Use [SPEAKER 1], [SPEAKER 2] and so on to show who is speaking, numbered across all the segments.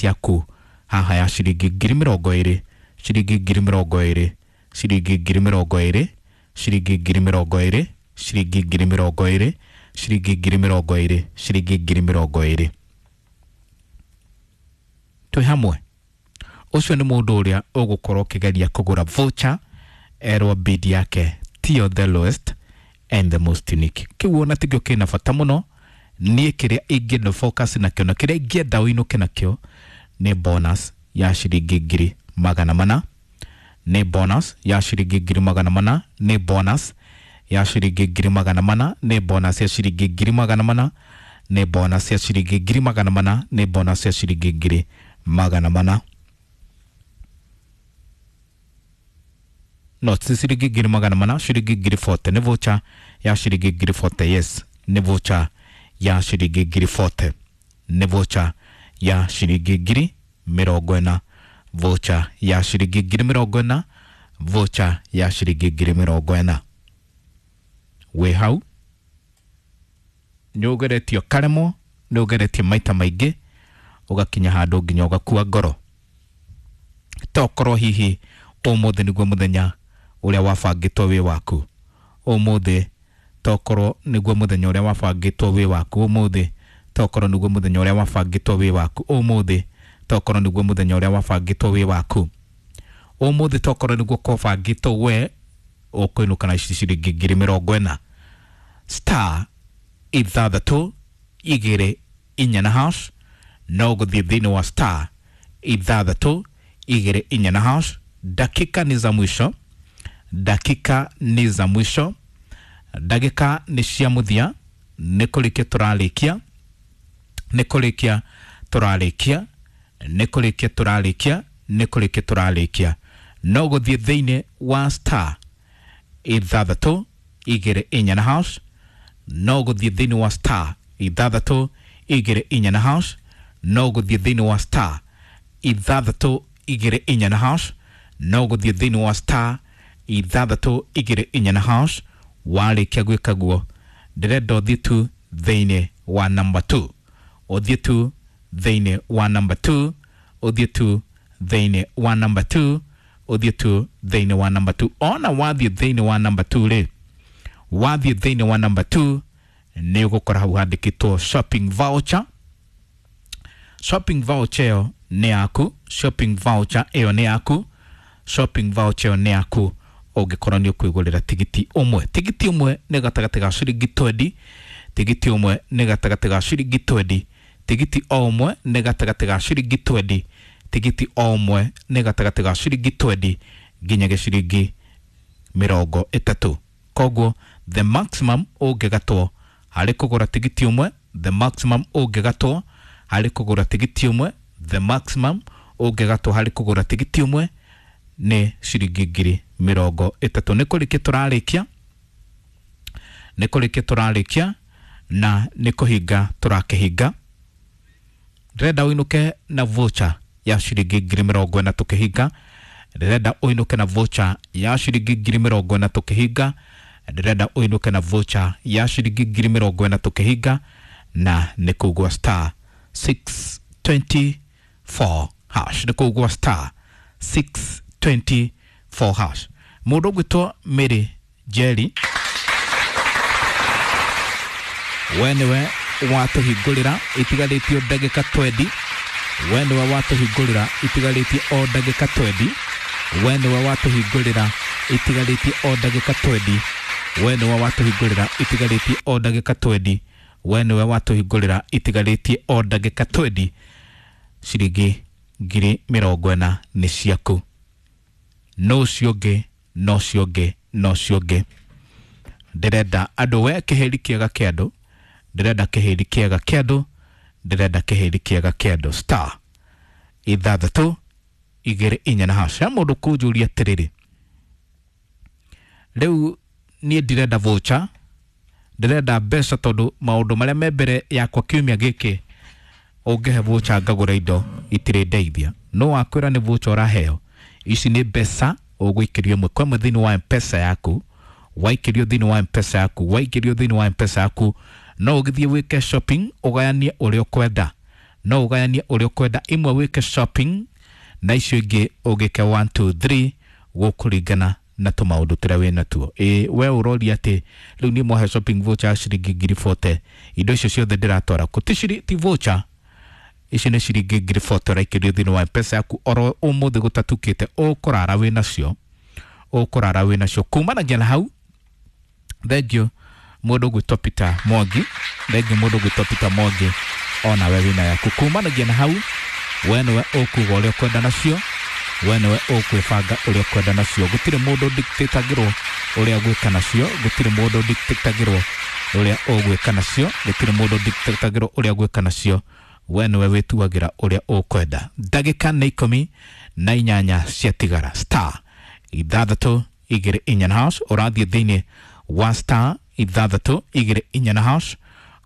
[SPEAKER 1] bonus yaku haha ya ciringi 20,000, ciringi 20,000, ciringi 20,000, ciringi 20,000, ciringi 20,000, ciringi 20,000, ciringi 20,000. Twĩ hamwe. Ũcio nĩ mũndũ ũrĩa ũgũkorwo ũkĩgeria kũgũra voucher erwo bid yake tiyo the lowest and the most unique. Kĩu ona tikĩo kĩna bata mũno. Niĩ kĩrĩa ingĩenda focus nakĩo na kĩrĩa ingĩenda ũinũke nakĩo nĩ bonus ya ciringi 400,000, nĩ bonus ya ciringi 400,000, nĩ bonus ya ciringi 400,000, nĩ bonus ya ciringi 400,000, nĩ bonus ya ciringi 400,000, nĩ bonus ya ciringi 400,000. No ti ciringi 400,000, ciringi 40,000 nĩ voucher ya ciringi 40,000. Yes, nĩ voucher ya ciringi 40,000, nĩ voucher ya ciringi 40,000, voucher ya ciringi 40,000, voucher ya ciringi 40,000. Wĩ hau nĩ ũgeretio karemwo, nĩ ũgeretie maita maingĩ, ũgakinya handũ nginya ũgakua ngoro. Tokorwo hihi ũmũthĩ nĩguo mũthenya ũrĩa wabangĩtwo wĩ waku. Ũmũthĩ tokorwo nĩguo mũthenya ũrĩa wabangĩtwo wĩ waku. Ũmũthĩ tokorwo nĩguo mũthenya ũrĩa wabangĩtwo wĩ waku. Ũmũthĩ tokorwo nĩguo mũthenya ũrĩa wabangĩtwo wĩ waku. Ũmũthĩ tokorwo nĩguo kwabangĩtwo we ũkũinũka na ciringi 40,000. Star 6 2 4 na hash, no gũthiĩ thĩinĩ wa star 6 2 4 na hash. Dakika ni za mwisho, dakika ni za mwisho, ndagĩka nĩ cia mũthia, nĩ kũrĩkia tũrarĩkia, nĩ kũrĩkia tũrarĩkia, nĩ kũrĩkia tũrarĩkia, nĩ kũrĩkia tũrarĩkia. No gũthiĩ thĩinĩ wa star 6 2 4 na hash, no gũthiĩ thĩinĩ wa star 6 2 4 na hash, no gũthiĩ thĩinĩ wa star 6 2 4 na hash, no gũthiĩ thĩinĩ wa star 6 2 4 na hash. Warĩkia gwĩka guo, ndĩrenda ũthiĩ tu thĩinĩ wa number 2, ũthiĩ tu thĩinĩ wa number 2, ũthiĩ tu thĩinĩ wa number 2, ũthiĩ tu thĩinĩ wa number 2. Ona wathiĩ thĩinĩ wa number 2 rĩ, wathiĩ thĩinĩ wa number 2 nĩ ũgũkora hau handĩkĩtwo shopping voucher. Shopping voucher ĩyo nĩ yaku, shopping voucher ĩyo nĩ yaku, shopping voucher ĩyo nĩ yaku ũngĩkorwo nĩ ũkwĩgũrĩra tigiti ũmwe. Tigiti ũmwe nĩ gatagatĩ ga ciringi 20, tigiti ũmwe nĩ gatagatĩ ga ciringi 20, tigiti o ũmwe nĩ gatagatĩ ga ciringi 20, tigiti o ũmwe nĩ gatagatĩ ga ciringi 20 nginya ciringi 30. Koguo the maximum ũngĩgatwo harĩ kũgũra tigiti ũmwe, the maximum ũngĩgatwo harĩ kũgũra tigiti ũmwe, the maximum ũngĩgatwo harĩ kũgũra tigiti ũmwe nĩ ciringi 30,000. Nĩ kũrĩkia tũrarĩkia, nĩ kũrĩkia tũrarĩkia na nĩ kũhinga tũrakĩhinga. Ndĩrenda ũinũke na voucher ya ciringi 40,000 tũkĩhinga. Ndĩrenda ũinũke na voucher ya ciringi 40,000 tũkĩhinga. Ndĩrenda ũinũke na voucher ya ciringi 40,000 tũkĩhinga, na nĩ kũgwa star 624 hash, nĩ kũgwa star 624 hash. Mũndũ ũgwĩtwo Mary Jerry, we nĩwe watũhingũrĩra itigarĩtio ndagĩka 20, we nĩwe watũhingũrĩra itigarĩtie o ndagĩka 20, we nĩwe watũhingũrĩra itigarĩtie o ndagĩka 20, we nĩwe watũhingũrĩra itigarĩtie o ndagĩka 20, we nĩwe watũhingũrĩra itigarĩtie o ndagĩka 20. Ciringi 40,000 nĩ ciaku. No ũcio ũngĩ, no ũcio ũngĩ, no ũcio ũngĩ. Ndĩrenda andũ we kĩhĩri kĩega kĩa andũ, ndĩrenda kĩhĩri kĩega kĩa andũ, ndĩrenda kĩhĩri kĩega kĩa andũ. Star 6 2 4 na hash. Mũndũ kũnjũria atĩrĩrĩ, rĩu niĩ ndirenda voucher, ndĩrenda mbeca tondũ maũndũ marĩa me mbere yakwa kiumia gĩkĩ ũngĩhe voucher ngagũra indo itirĩ ndeithia. No wakwĩra nĩ voucher ũraheo, ici nĩ mbeca ũgũikĩrio ĩmwe kwa ĩmwe thĩinĩ wa M-Pesa yaku. Waikĩrio thĩinĩ wa M-Pesa yaku, waikĩrio thĩinĩ wa M-Pesa yaku, no ũgĩthiĩ wĩke shopping ũgayanie ũrĩa ũkwenda. No ũgayanie ũrĩa ũkwenda, imwe wĩke shopping na icio ingĩ ũgĩke 1 2 3 gũkũringana na tũmaũndũ tũrĩa wĩ natuo. Ĩ we ũroria atĩ rĩu niĩ mwahe shopping voucher ya ciringi 40,000, indo icio ciothe ndĩratwara kũ? Ti voucher, icio nĩ ciringi 40,000 ũraikĩrio thĩinĩ wa mpesa yaku oro ũmũthĩ gũtatukĩte. Ũkũrara wĩ nacio, ũkũrara wĩ nacio kumanagia na hau. Thengio mũndũ ũgwĩtwo Peter Mwangi, thengio mũndũ ũgwĩtwo Peter Mwangi, onawe wĩna yaku. Kumanagia na hau, we nĩwe ũkuga ũrĩa ũkwenda nacio, we nĩwe ũkwĩbanga ũrĩa ũkwenda nacio. Gũtirĩ mũndũ dictatagĩrwo ũrĩa ũgwĩka nacio, gũtirĩ mũndũ dictatagĩrwo ũrĩa ũgwĩka nacio, gũtirĩ mũndũ dictatagĩrwo ũrĩa ũgwĩka nacio. We nĩwe wĩtuagĩra ũrĩa ũkwenda. Ndagĩka nĩ 18 ciatigara. Star 6 2 4 na hash, ũrathiĩ thĩinĩ wa star 6 2 4 na hash,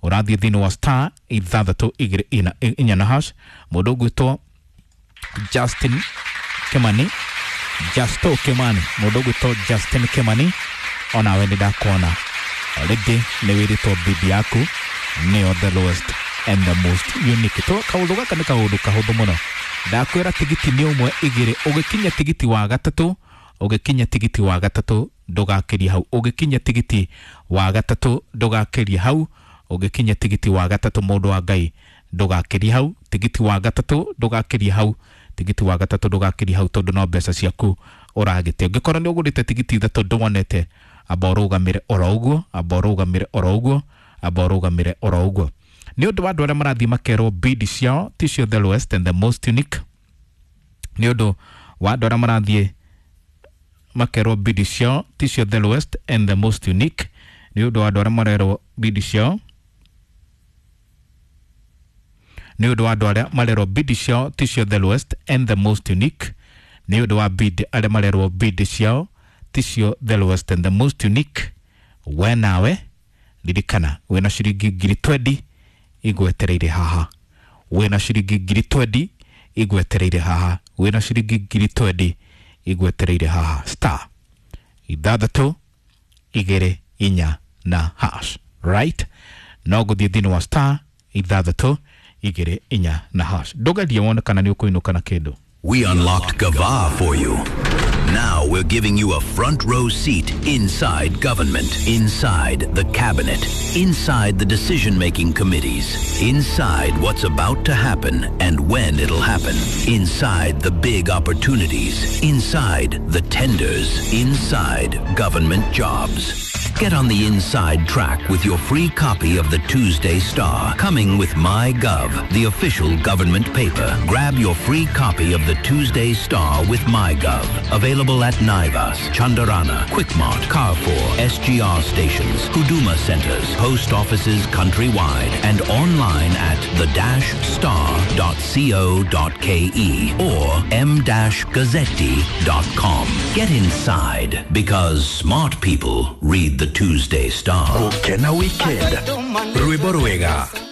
[SPEAKER 1] ũrathiĩ thĩinĩ wa star 6 2 4 na hash. Mũndũ ũgwĩtwo Justin Kimani, Justo Kimani, mũndũ ũgwĩtwo Justin Kimani, onawe nĩ ndakuona already, nĩ wĩrĩtwo bibi yaku nĩyo the lowest and the most unique. To kaũndũ gaka nĩ kaũndũ kahũthũ mũno. Ndakwĩra tigiti nĩ ũmwe igĩrĩ, ũgĩkinya tigiti wa gatatũ, ũgĩkinya tigiti wa gatatũ ndũgakĩrie hau, ũgĩkinya tigiti wa gatatũ ndũgakĩrie hau, ũgĩkinya tigiti wa gatatũ mũndũ wa Ngai ndũgakĩrie hau, tigiti wa gatatũ ndũgakĩrie hau, tigiti wa gatatũ ndũgakĩrie hau, tondũ no mbeca ciaku ũragĩte. Ũngĩkorwo nĩ ũgũrĩte tigiti ithatũ ndwonete, amba ũrũgamĩre oro ũguo, amba ũrũgamĩre oro ũguo, amba ũrũgamĩre oro ũguo. Nĩ ũndũ wa andũ arĩa marathiĩ makerwo bid ciao ticio the lowest and the most unique, nĩ ũndũ wa andũ arĩa marathiĩ makerwo bid ciao ticio the lowest and the most unique, nĩ ũndũ wa andũ arĩa marerwo bid ciao, nĩ ũndũ wa andũ arĩa marerwo bid ciao ticio the lowest and the most unique, nĩ ũndũ wa bid arĩa marerwo bid ciao ticio the lowest and the most unique. We nawe ririkana wĩna ciringi 20,000 igwetereire haha, wĩna ciringi 20,000 igwetereire haha, wĩna ciringi 20,000 igwetereire haha. Star 6 2 4 na hash, right? No gũthiĩ thĩinĩ wa star 6 2 4 na hash, ndũgerie wone kana nĩ ũkũinũka na kĩndũ.
[SPEAKER 2] We unlocked Gava for you. Now we're giving you a front row seat inside government, inside the cabinet, inside the decision-making committees, inside what's about to happen and when it'll happen, inside the big opportunities, inside the tenders, inside government jobs. Get on the inside track with your free copy of the Tuesday Star, coming with MyGov, the official government paper. Grab your free copy of the Tuesday Star with MyGov. Available at Naivas, Chandarana, Quickmart, Carrefour, SGR stations, Huduma centers, post offices countrywide, and online at the-star.co.ke or m-gazzetti.com. Get inside, because smart people read the Tuesday Star.
[SPEAKER 3] Gũkena weekend, rwĩmbo rwega.